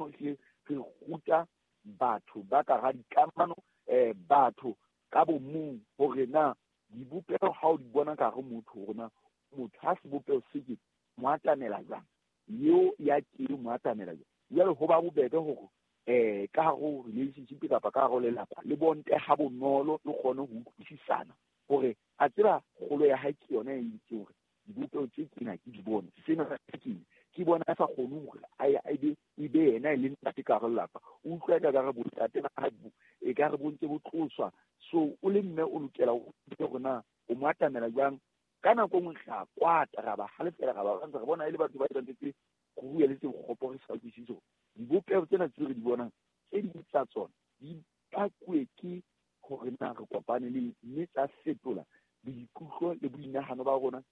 mo re ruta batho ba ka ga dikamano, batho ka bo mong hore na dibopeho ha o di bona ka hare motho hore na motho ha sebopeho se ke mo atamela jwang, eo ya ke mo atamela jwang. Jwale ho ba bobebe hore ka hare ho relationship kapa ka hare ho lelapa le bonte ha bonolo le kgone ho utlwisisana hore a tseba kgolo ya hae ke yona e itseng hore dibopeho tse kena ke di bone, sena ke bona a sa kgone hore a be e be yena e le ntate ka hare lelapa. O utlwa ka re bontate ba hae e ka re bo ntse bo tloswa. So o le mme o lokela hore na o mo atamela jwang. Ka nako e nngwe re a kwata, ra ba halefela, ra ba re bona e le batho ba etsang tse go bua le tse kgopo re sa utlwisise hore dibopeho tsena tse re di bonang tse ding tsa tsona di pakuwe ke hore na re kopane le mme tsa fetola boikutlo le boinahano ba rona,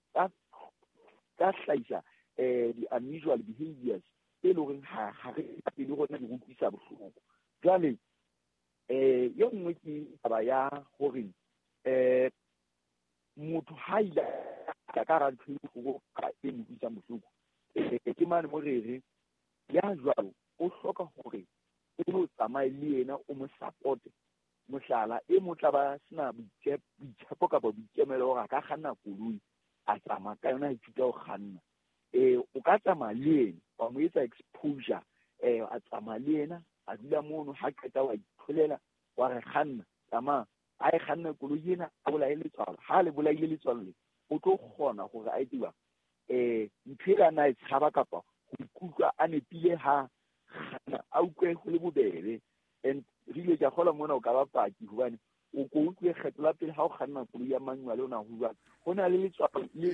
tsa hlahisa di-unusual behaviors tse leng hore ha re pele rona di re utlwisa bohloko. Jwale e nngwe ke taba ya hore motho ha ile ka hara ntho e bohloko e mo utlwisang bohloko, ke mane mo re re ya jwalo o hloka hore o lo tsamaye le yena o mo support-e. Mohlala e mo tla ba sena boitshepo kapa boikemelo hore a ka kganna koloi a tsamaya ka yona a ithuta ho kganna. O ka tsamaya le yena wa mo etsa exposure, a tsamaya le yena a dula mono, ha qeta wa itholela wa re kganna tsamaya, a e kganna koloi ena a bolaye letswalo. Ha le bolaile letswalo le o tlo kgona hore a etse jwang, ntho e a na e tshaba kapa ho ikutlwa a nepile ha kganna a utlwe ho le bobebe. And re ile ka kgola mona o ka ba paki hobane o ko utlwe kgetho la pele ha o kganna koloi ya manual o na ho jwang, ho na le letswalo le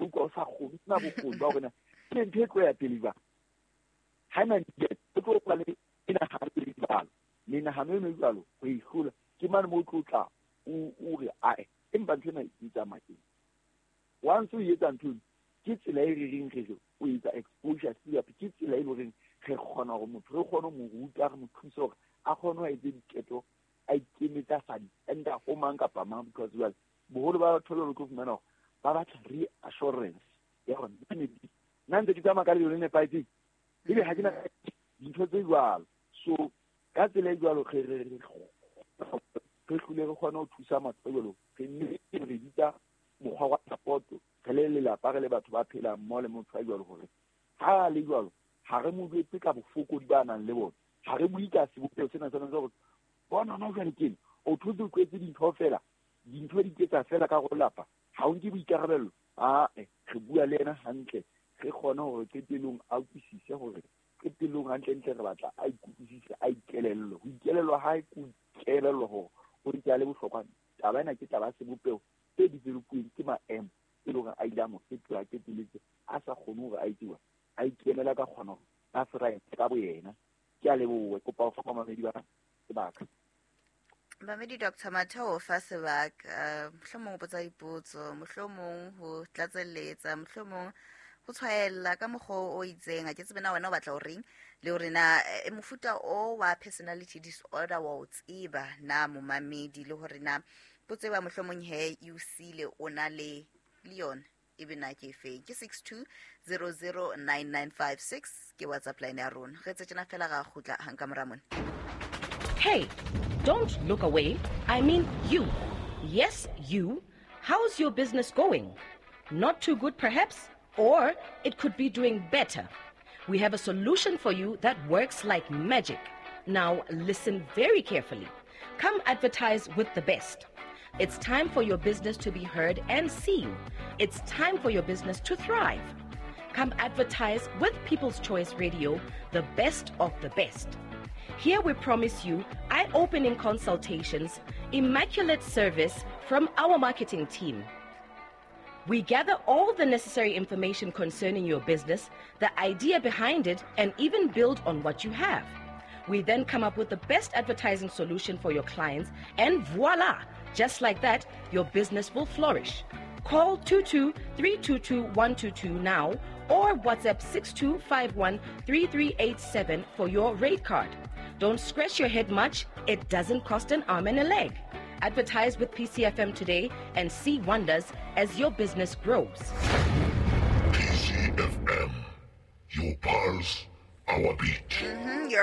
utlwa o sa kgone, o sena bokgoni ba hore na ke ntho e tlo ya pele jwang. Ha ena o tlo ba le menahano e jwalo, menahano eno e jwalo ho e hlola ke mane mo o tlo tla o re ae empa ntho ena e tsamaya teng. Once o etsa ntho eno ke tsela e re reng re re o etsa exposure therapy, ke tsela e leng horeng re kgona hore motho re kgone ho mo ruta, re mo thuse hore a kgone ho etse diketo, a ikemetse a sa dependa ho mang kapa mang. Because jwale boholo ba batho ba tlo fumana hore ba batla reassurance ya hore nna ntse ke tsamaya ka lebelo le nepahetseng, ebe ha ke na dintho tse jwalo. So ka tsela e jwalo re hlole re kgone ho thusa motho jwalo, re mme re bitsa mokgwa wa support re le lelapa, re le batho ba phelang mmoho le motho a jwalo, hore ha le jwalo ha re mo jwetse ka bofokodi ba nang le bona, ha re bue ka sebopeho sena sena sa hore bona hona jwale keng o thotse o tlwaetse dintho fela, dintho di ketsa fela ka go lapa, ha o nke boikarabello. Ae, re bua le yena hantle, re kgone hore qetellong a utlwisise hore qetellong hantlentle re batla a ikutlwisise, a ikelellwe. Ho ikelellwa hae ke ho ikelellwa hore o ntse a le bohlokwa. Taba ena ke taba ya sebopeho se develop-uweng ke maemo e leng hore a ile a mo fetola, a qetelletse a sa kgone hore a etse jwang, a ikemela ka kgona hore a thrive ka boyena. Ke a leboha, ke kopa ho fa bamamedi ba sebaka. Bamedi Dr. Matheo fa sebaka, mohlomong o botsa dipotso, mohlomong ho tlatselletsa, mohlomong ho tshwaella ka mokgwa o itseng. Ha ke tsebe na wena o batla ho reng, le hore na mofuta o wa personality disorder wa o tseba na momamedi, le hore na potso e ba mohlomong he e o siile o na le yona ebe na ke efeng. Ke 62009956 ke WhatsApp line ya rona. Re tse tjena fela ra kgutla hang ka mora mona. Hey, don't look away. I mean you. Yes, you. How's your business going? Not too good perhaps? Or it could be doing better. We have a solution for you that works like magic. Now listen very carefully. Come advertise with the best. It's time for your business to be heard and seen. It's time for your business to thrive. Come advertise with People's Choice Radio, the best of the best. Here we promise you eye-opening consultations, immaculate service from our marketing team. We gather all the necessary information concerning your business, the idea behind it, and even build on what you have. We then come up with the best advertising solution for your clients, and voila! Just like that, your business will flourish. Call 22-322-122 now or WhatsApp 6251-3387 for your rate card. Don't scratch your head much. It doesn't cost an arm and a leg. Advertise with PCFM today and see wonders as your business grows. PCFM, your pulse, our beat. Your